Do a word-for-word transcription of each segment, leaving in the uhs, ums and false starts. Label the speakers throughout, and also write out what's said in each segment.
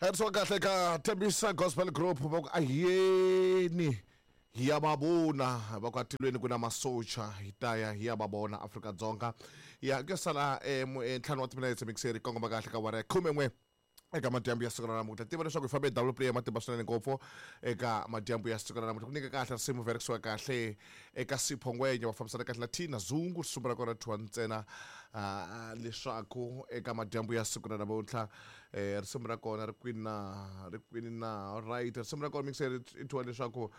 Speaker 1: Herisiwa kahle ka Tembisa Gospel Group va ku ahiyeni hi ya va vona, va ku atilweni ku na masocha, hi ta ya hi ya va vona Afrika-Dzonga. Ya ku ya sala eh, mu- eh, ntlhanu wa timinetse mixeri kongoma kahle ka awara ya khumen'we eka madyambu ya siku ra namuntlha. Tiva leswaku hi fambe hi double play ya matimba swinene ngopfu eka madyambu ya siku ra namuntlha. Ku nyika kahle risimu verisiwa kahle eka Sipho Ngwenya, va fambisana kahle na Tina Zungu, risimu ra kona thiwa ntsena ah, leswaku eka madyambu ya siku ra namuntlha eh, risimu ra kona ri kwini na ri kwini na. Alright, risimu ra kona mixeri i thiwa leswaku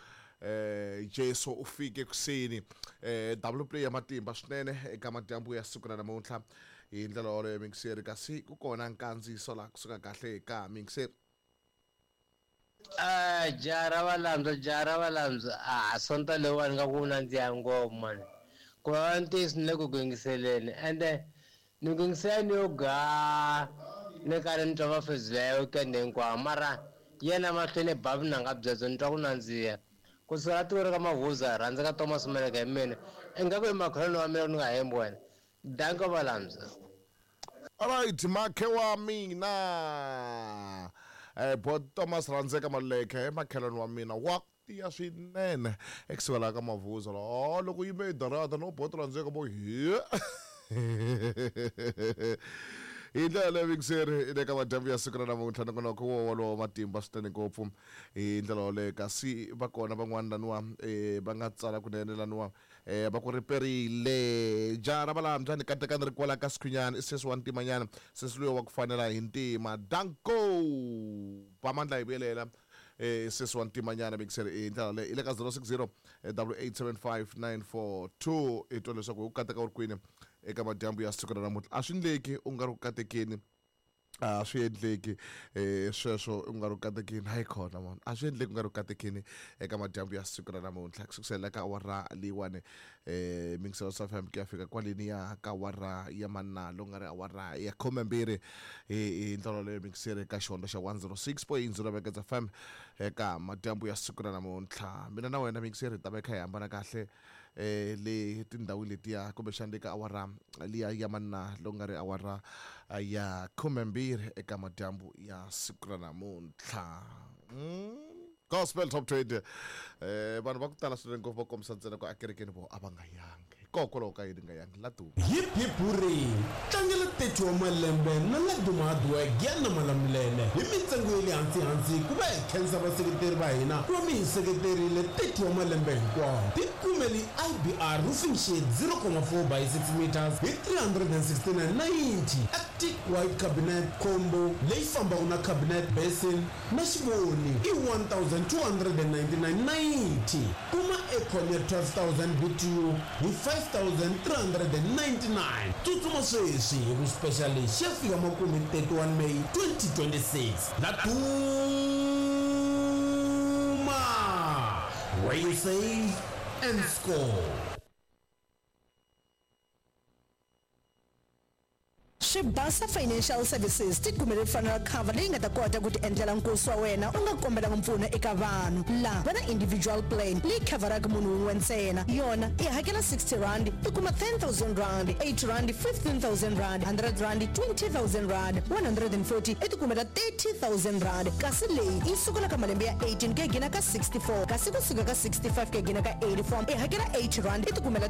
Speaker 1: eh, Jesu u fike kuseni. eh, double play ya matimba swinene eka madyambu ya siku ra namuntlha hi ndlela yoleyo mixeri. Kasi ku kona nkandziyiso laha kusuka kahle ka mixeri.
Speaker 2: Ah, jara valandza, jara valandza. Ah, sonta leyiwani nga ku nandziha ngopfu mani. Ku va ntiyiso ni le ku yingiseleni, ende ni ku yingisela ni yo gaa, ni karhi ni twa mafezula ya weekend hinkwawo, mara yena mahlweni bavi nanga byebyo ni twa ku nandziha. Ku sukela tiko ra ka Mavuza, rhandza ka Thomas Maleka hi mina, ingaku i makhelwani wa mina ni nga hembi wena. Danko valandza.
Speaker 1: Alright, makhe wa mina eh, bo Thomas Rhandzeka Maluleke, makhelwani wa mina wa tiya swinene ekusuka laha ka Mavuza. Oh, loko yime hi darata no boto Rhandzeka bo hi hi ndlela leyo mixeri le ka madyambu ya siku ra namuntlha. Nongonoko wo wolowo matimba swinene ngopfu hi ndlela yoleyo. Kasi va kona van'wana laniwa eh, va nga tsala kunene laniwa eh, va ku riperile jara valambya ni katekani ri kwala ka sikhwinyana i sesi wa ntimanyana, sesi luya wa ku fanela hi ntima. Danko Bamandla hi vuyelela eh, sesi wa ntimanyana mixeri hi ndlela leyo i le ka zero six zero double eight seven five nine four two. I twa leswaku u kateka u ri kwini eka madyambu ya siku ra namuntlha. A swi endleki u nga ri ku katekeni, a swi endleki eh, sweswo u nga ri ku katekeni. Hayi khona mani, a swi endleki u nga ri ku katekeni eka madyambu ya siku ra namuntlha. Ku sukusela ka awara leyiwani eh, mingiselo swa F M ku ya fika kwaleni ya ka awara ya manalo, nga ri awara ya khumembirhi hi ndlela leyo mingiseri ka xihondlo xa one zero six point zero Megahertz F M eka madyambu ya siku ra namuntlha. Mina na wena mingiseri hi ta va hi kha hi hambana kahle eh, le tindhawini letiya, kumbexana le ka awara liya ya manalo, nga ri awara ya khumembirhi eka madyambu ya siku ra namuntlha. Mm. Gospel Top twenty eh, vanhu va ku tala swinene ngopfu va kombisa ntsena ku akerekeni vo a va nga yangi, hikokwalaho ka yini nga yangi la duma.
Speaker 3: Hip hip hurray, tlangela thirty wa malembe na Laduma Hardware Giyani Malamulele hi mintsengo ya le hansi hansi ku va hi khensa vaseketeri va hina ku va mi hi seketerile thirty wa malembe hinkwawo. Tikumeli I B R roofing sheet zero comma four by six meters hi three hundred and sixty-nine ninety. Arctic White Cabinet Combo leyi fambaka na cabinet basin na xivoni i one thousand two hundred and ninety-nine ninety. Kuma aircon ya twelve thousand B T U hi five thousand three hundred and ninety-nine. Tsutsuma sweswi hi ku special lexi ya fika makumu hi thirty-one May twenty twenty-six. Laduma, where you save and score.
Speaker 4: Swibasa Financial Services ti kumele funeral cover leyi nga ta kota ku ti endlela nkosi wa wena u nga kombelanga mpfuno eka vanhu. La va na individual plan leyi coveraka munhu wun'we ntsena, yona i hakela sixty rand i kuma ten thousand rand, eight rand fifteen thousand rand, hundred rand twenty thousand rand, one hundred and forty i ti kumela thirty thousand rand. Kasi leyi yi sukela ka malembe ya eighteen ku ya gina ka sixty-four, kasi kusuka ka sixty-five ku ya gina ka eighty-four i hakela eight rand i ti kumela